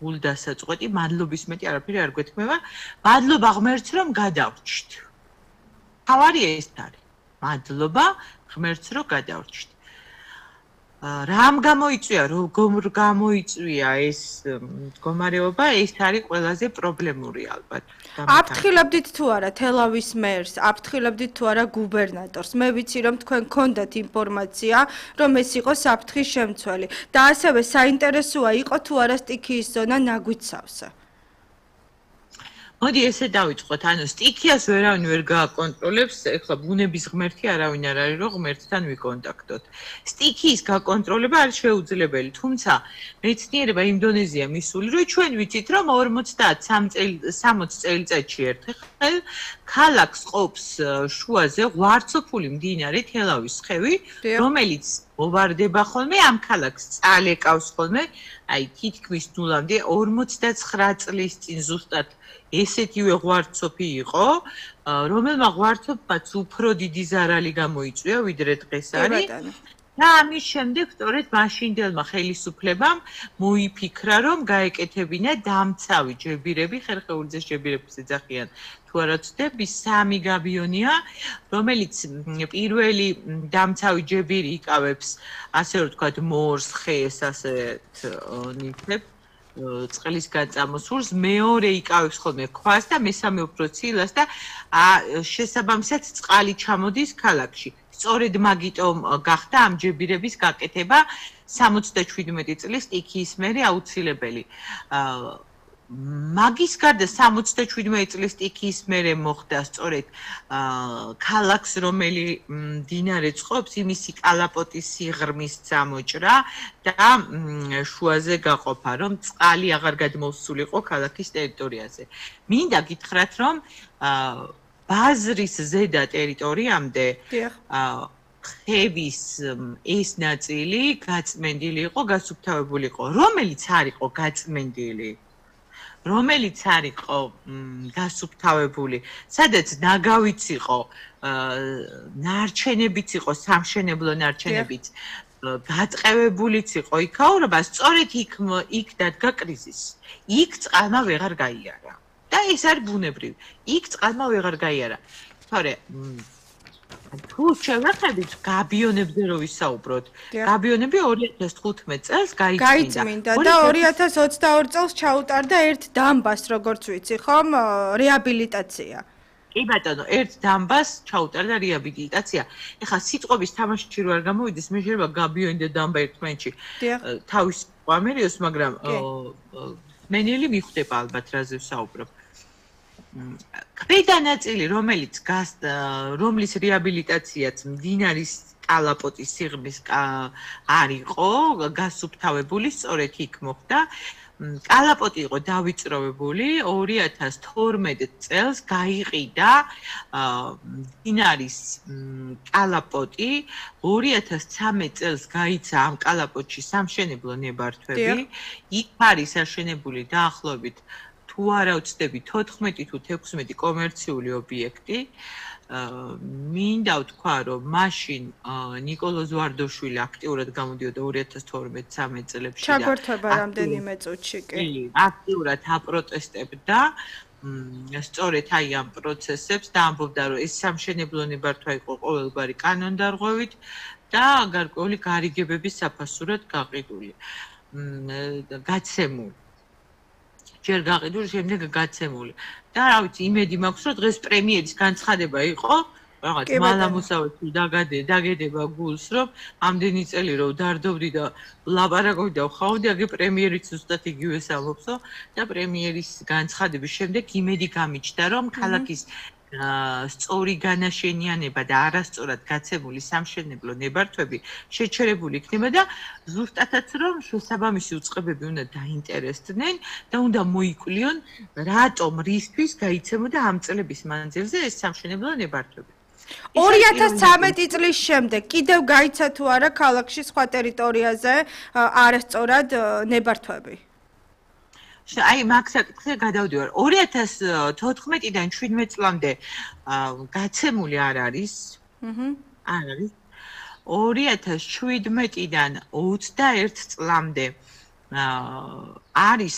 გულდასაწყვეტი, მადლობის მეტი არაფერი არ გვეთქმება. მადლობა ღმერთს, რომ გადავრჩით. თავარი ეს არის. მადლობა ღმერთს, რომ გადავრჩით. რამ გამოიწვია, როგორ გამოიწვია ეს მდგომარეობა, ეს არის ყველაზე პრობლემური ალბათ. აფრთხილებდით თუ არა თელავის მერს, აფრთხილებდით თუ არა გუბერნატორს. მე ვიცი რომ თქვენ გქონდათ ინფორმაცია, რომ ეს იყო საფრთხის შემცველი და ასევე საინტერესოა იყო თუ არა სტიქიის ზონა ნაგვით სავსე. მოდი ესე დავიწყოთ, ანუ სტიქიას ვერავინ ვერ გააკონტროლებს, ეხლა ბუნების ღმერთი არავინ არ არის, რომ ღმერთთან ვიკონტაქტოთ. სტიქიის გაკონტროლება არის შეუძლებელი, თუმცა მეცნიერება იმ დონეზეა მისული, რომ ჩვენ ვიცით, რომ 60 წელიწადში ერთხელ ქალაქს ყოფს შუაზე ღვარცოფული მდინარე თელავის ხევი, რომელიც მოვარდება ხოლმე ამ ქალაქს წალეკავს ხოლმე, აი თითქმის ნულამდე 59 წლის წინ ზუსტად ესეთივე ღვარცოფი იყო, რომელმა ღვარცოფმაც უფრო დიდი ზარალი გამოიწვია, ვიდრე დღეს არის. და ამის შემდეგ სწორედ მაშინდელმა ხელისუფლებამ მოიფიქრა, რომ გაეკეთებინა დამცავი ჯებირები, ხერხეულიძეს ჯებირებს ეძახიან. თუ არა ვცდები, 3 გაბიონია, რომელიც პირველი დამცავი ჯებირი იკავებს, ასე რომ ვთქვათ, მორს, ხეს, ასეთ ნივთებს. წყლის გაწამოსულს, მეორე იკავებს ხოლმე ქვას და მესამე უფრო ცილას და შესაბამისად წყალი ჩამოდის ქალაქში. სწორედ მაგიტომ გახდა ამ ჯებირების გაკეთება 77 წლის სტიქიის მერე აუცილებელი. მაგის გარდა 77 წლის სტიქიის მერე მოხდა სწორედ ქალაქს, რომელი მდინარე წყობს, იმისი კალაპოტის სიღრმის წამოჭრა და შუაზე გაყოფა, რომ წყალი აღარ გადმოსულიყო ქალაქის ტერიტორიაზე. მინდა გითხრათ, რომ ბაზრის ზედა ტერიტორიამდე ხევის ეს ნაწილი გაწმენდილი იყო, გასუფთავებული იყო, რომელიც არ იყო გაწმენდილი. რომელიც არ იყო გასუფთავებული, სადაც ნაგავიც იყო, ნარჩენებიც იყო, სამშენებლო ნარჩენებიც, გაწყევებულიც იყო იქაურობა, სწორედ იქ დადგა კრიზისი. იქ წყალმა ვეღარ გაიარა. და ეს არის ბუნებრივი. იქ წყალმა ვეღარ გაიარა. თორე თუ შევეხებით გაბიონებზე რო ვისაუბროთ, გაბიონები 2015 წელს გაიწმინდა და 2022 წელს ჩაუტარდა ერთ დამბას, როგორც ვიცი, ხომ, რეაბილიტაცია. კი ბატონო, ერთ დამბას ჩაუტარდა რეაბილიტაცია. ეხლა სიტყვების თამაში რო არ გამოვიდეს, მე შეიძლება გაბიონი და დამბა ერთმანეთში თავის ამერიოს, მაგრამ მენელი მიხვდება ალბათ რაზე ვსაუბრობ. ქვედა ნაწილი, რომლის რეაბილიტაციაც მდინარის კალაპოტის სიღრმის არ იყო გასუფთავებული, სწორედ იქ მოხდა. კალაპოტი იყო დავიწროვებული 2012 წელს გაიყიდა მდინარის კალაპოტი 2013 წელს გაიცა ამ კალაპოტში სამშენებლო ნებართვები. იქ არის აშენებული დაახლოებით თუ არა ვცდები 14 თუ 16 კომერციული ობიექტი. მინდა ვთქვა, რომ მაშინ ნიკოლოზ ზვარდოშვილი აქტიურად გამოდიოდა 2012-13 წლებში და ჩაგვერთვება რამდენიმე წუთში კი. აქტიურად აპროტესტებდა სწორედ აი ამ პროცესებს და ამბობდა, რომ ეს სამშენებლო ნებართვა იყო ყოველგვარი კანონდარღვევით და გარკვეული გარიგებების საფასურად გაყიდული. გაცემული. ჯერ გაყიდული, შემდეგ გაცემული. და რა ვიცი, იმედი მაქვს, რომ დღეს პრემიერის განცხადება იყო, რაღაც მალამოსავეთი დაგედება გულს, რომ ამდენი წელი რომ დარდობდი და ლაპარაკობდი და ვხავდი, აგე პრემიერიც ზუსტად იგივეს ამბობსო და პრემიერის განცხადების შემდეგ იმედი გამიჩნდა, რომ ქალაქის სწორი განაშენიანება და არასწორად გაცემული სამშენებლო ნებართვები შეჩერებული იქნება და ზუსტადაც რომ შესაბამისი უწყებები უნდა დაინტერესდნენ და უნდა მოიკვლიონ რატომ რისთვის გაიცემოდა ამ წლების მანძილზე ეს სამშენებლო ნებართვები. 2013 წლის შემდეგ კიდევ გაიცა თუ არა ქალაქში სხვა ტერიტორიაზე არასწორად ნებართვები? აი მაგ საკითხზე გადავდივარ. 2014-დან 17 წლამდე გაცემული არ არის. არ არის. 2017-დან 21 წლამდე არის